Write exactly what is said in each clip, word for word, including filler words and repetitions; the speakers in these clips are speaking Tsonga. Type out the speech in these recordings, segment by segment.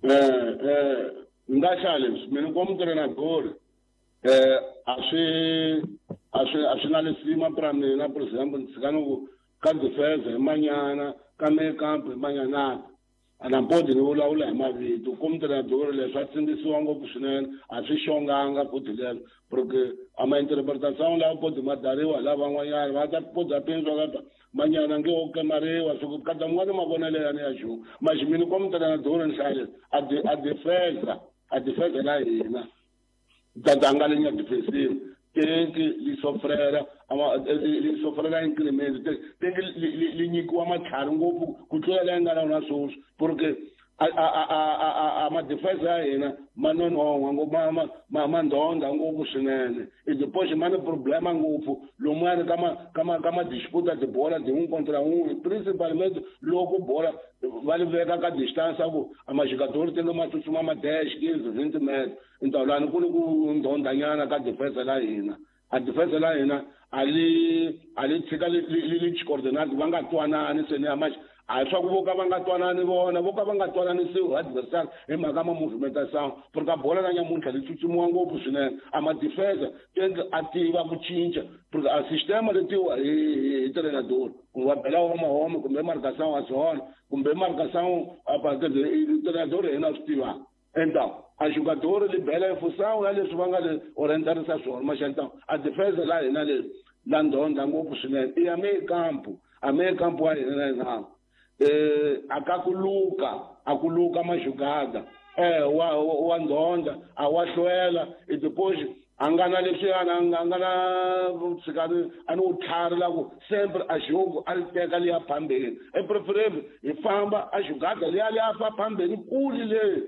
Eh eh nga hlaya leswi mina como treinador eh a swi a swi a swi na lisima pra mina, por exemplo, ndzi ni ku ka defense hi manyana, ka meio campo hi manyana, a na podi ni vulavula hi mavito. Como treinador leswi a tsindisiwa ngopfu swinene, a swi xonganga futhi lelo, porque a ma interpretação lawa podi ma dariwa hi lavan'wanyana va ta podi a pindzwa ka manyana nge wo kemariwa swi ku kata mun'wana mavonelo yani ya xo maxi. Mina como treinador ni hlaya leswi a de a defensa a defensa la hina tatanga linya defensive tenki li sofrera ama li sofrera incremento tenki li nyikiwa matlhari ngopfu ku tlula leyi nga na wona sweswi, porque a a a a a ma defense ya hina ma nonon'hwa ngopfu, ma ma ma ma ndhondha ngopfu swinene. I depois ma ni problema ngopfu lomuyani ka ma ka ma ka ma disputa tibola tin'we contra un'we, principalmente loko bola va li veka ka distance ku a majogador tenge ma tsutsuma ma dez, quinze, vinte metros. Então lani ku ni ku ndhondhanyana ka defense la hina. A defense la hina a li a li tshika li li li coordinate va nga twanani se ni ya maxi a swa ku vo ka va nga twanani vona, vo ka va nga twananisiwi adversaire hi mhaka ma movimentation, porque a bola na nyamuntlha li tsutsumiwa ngopfu swinene. A ma defense tenke a tiva ku cinca, porque a sistema letiwa hi hi treinador kumbe va bela home home kumbe marcação a zona kumbe marcação a treinador yena a swi tivaka. Então a jogador li bela em função ya leswi va nga le orientarisa swona maxa. Então a defense la hina leswi la ndhondha ngopfu swinene i ya meio campo, a meio campo wa hina na hina eh akakuluka akuluka majugada eh wa wa ndhondha a wa hlwela. E depois a nga na leswiyana a nga na tshikani a ni wu tlhari la ku sempre a jogo a li teka liya phambeni, e preferable hi famba a jugada liya liya fa phambeni kuli leyi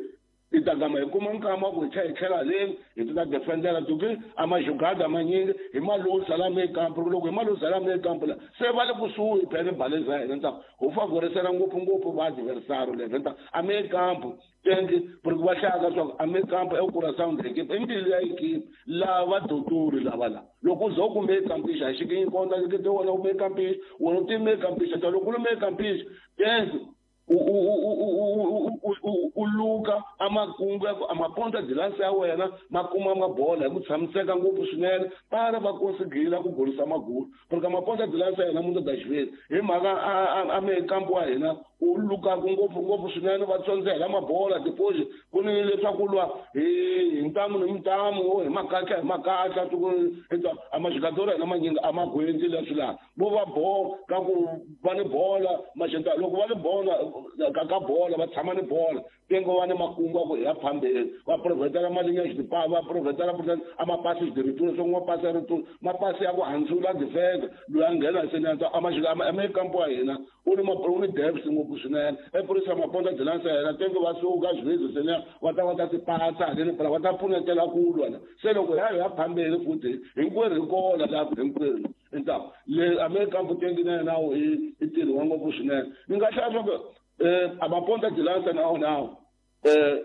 i ta gama hi kuma nkama ku hi tlhela hi tlhela haleni hi ti ta defendela tuki a majugada manyingi hi malusa la meio campo. Loko hi malusa la meio campo la se va le kusuhi phela baleza ya hina, nta ho favorisela ngopfungopfu va adversário leswi. Nta a meio campo tenki porque va hlaya swa a meio campo é o coração da equipe, i mbilu ya equipe lava doturi lava la loko u za u ku meio campista a xi konta ke wona u meio campista wona u ti meio campista ta loko u ri meio campista tenki u u u u u u luka a makungu ya ku a maponta de lança ya wena ma kuma mabola hi ku tshamiseka ngopfu swinene para va konsigila ku golisa magulu, porque maponta de lança ya hina munhu da xiviri hi mhaka a meio campo wa hina u lukaku ngopfu ngopfu swinene va tsondzela mabola. Depois ku ni leswaku lwa hi hi ntamu ni ntamu hi makatla hi makatla a majogador ya hina manyingi a ma gwendzi leswi laha vo va bo ka ku va ni bola maxenta loko va ni bola ka ka bola va tshama ni bola tengo va ni makungu ya ku hi ya phambeni va provhetela malinya xipa va provhetela a mapasi de retour swo mapasi ya retour mapasi ya ku handzula defense loyi a nghena se ni a majoga a meio campo wa hina u ni u ni depth ngopfu swinene. E purisa maponta de lança ya hina tengo va suka xivindzi se ni va ta va ta ti patsa haleni phela va ta pfunetela ku lwa la se loko ya hi ya phambeni futhi hinkwerhu hi kona laha hinkwerhu. Então le a meio campo tengi na yena i i tirhiwa ngopfu swinene. Ni nga hlaya swa ku eh a maponta de lança na wona eh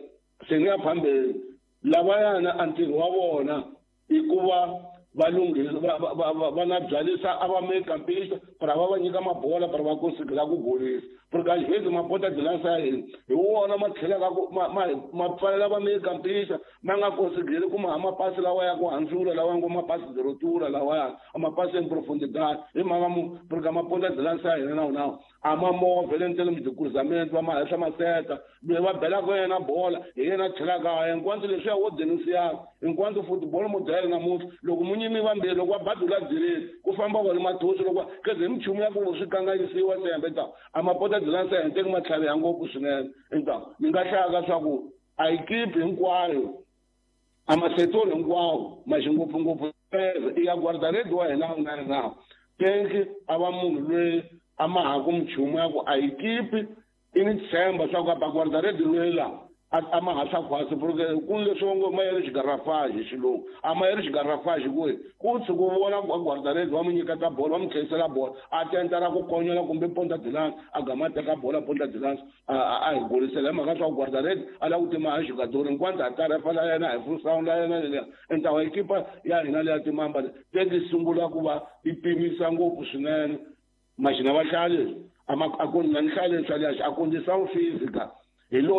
se ni ya phambeni lavayana a ntirho wa vona i ku va va lunghisa va va va va na byalisa a va meio campista para va va nyika mabola para va konsigila ku golisa, porque às vezes maponta de lança ya hina hi wona ma tlhelaka ku ma ma ma pfalela va meio campista ma nga konsigili ku ma mapasi lawa ya ku handzula lawa ngo mapasi de rotura lawaya a mapasi en profundidade hi mhaka mu porque maponta de lança ya hina na wona a ma movha le ntelemi de cruzamento va ma henhla maseta loyi va belaka yena bola hi yena tlhelaka enquanto leswiya wo denunciaka enquanto football model namuntlha loko munyimi vambirhi loko va badula dzileni ku famba vona mathosi loko keze hi minchumu ya ku swi kanganyisiwa sembe ta a maponta de lança ya hina teki ma tlhaviha ngopfu swinene. Então ni nga hlaya swa ku a equipe hinkwayo a masetori hinkwawo maxi ngopfungopfu i ya guarda-rede wa hina wu nga ri nawu tenki a va munhu loyi a ma ha ku minchumu ya ku a equipe i ni tshemba swa ku a ba guarda-rede loyi laha a ma ha swa khwasi porque ku ni leswi ngo ma yeri xigarafage hi xilungu a ma yeri xigarafage ku ku tshuka u vona guarda-rede va mu nyiketa bolo va mu tlherisela bola a tentela ku konyola kumbe ponta de lança a gama a teka bola ponta de lança a hi golisela hi mhaka swa ku guarda-rede a lava ku tima a jogador hinkwanto a tarefa la yena hi funsound la yena leliya entawa ekipa ya hina leya timamba teki sungula ku va yi pimisa ngopfu swinene maxina va hlaya leswi a a ku na ni hlaya leswi a condição física hi lo